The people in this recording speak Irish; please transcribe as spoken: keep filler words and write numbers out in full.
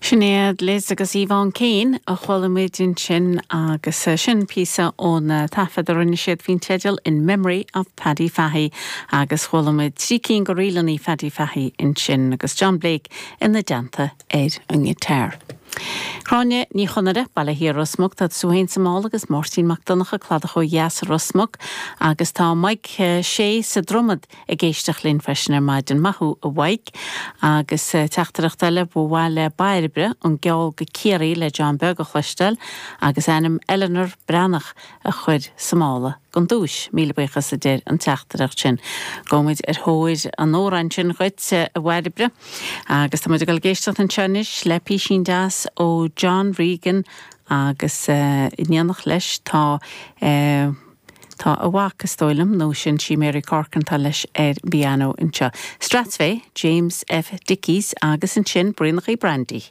Sinéad Liz agus Yvonne Kane a chuala muid ansin agus eh, sin píosa ón eh, taifead a rinne siad faoin teideal in Memory of Paddy Fahey agus chuala muid trí cinn de ríleanna Paddy Fahey ansin agus John Blake ina dteannta ar an ngiotár. Gráinne Ní Chonaire Baile Thiar Ros Muc tá tú féin sa mála agus Máirtín Mac Donncha Cladach ó dheas Ros Muc agus tá Mike eh, sé sa Dromad ag éisteacht linn freisin ar maidin maith thú a Mhaidhc agus eh, teachtaireacht eile ba mhaith le Bairbre an Geall go Ciarraí le John Beag a chloisteáil agus ainm Eleanor Breathnach a chur sa mála don duais míle buíochas a deir an teachtaireacht sin. Gabhfaimid ar thóir an amhráin sin dhuit a Bhairbre agus tá muid ag éisteacht anseo le písín deas ó John Regan agus uh, in éineacht leis tá uh, Tá a mhac is dóigh liom nó sin sí Mary Corkantá leis ar piano anseo. Strathspey, James F. Dickies agus ansin Braonachaí Brandy.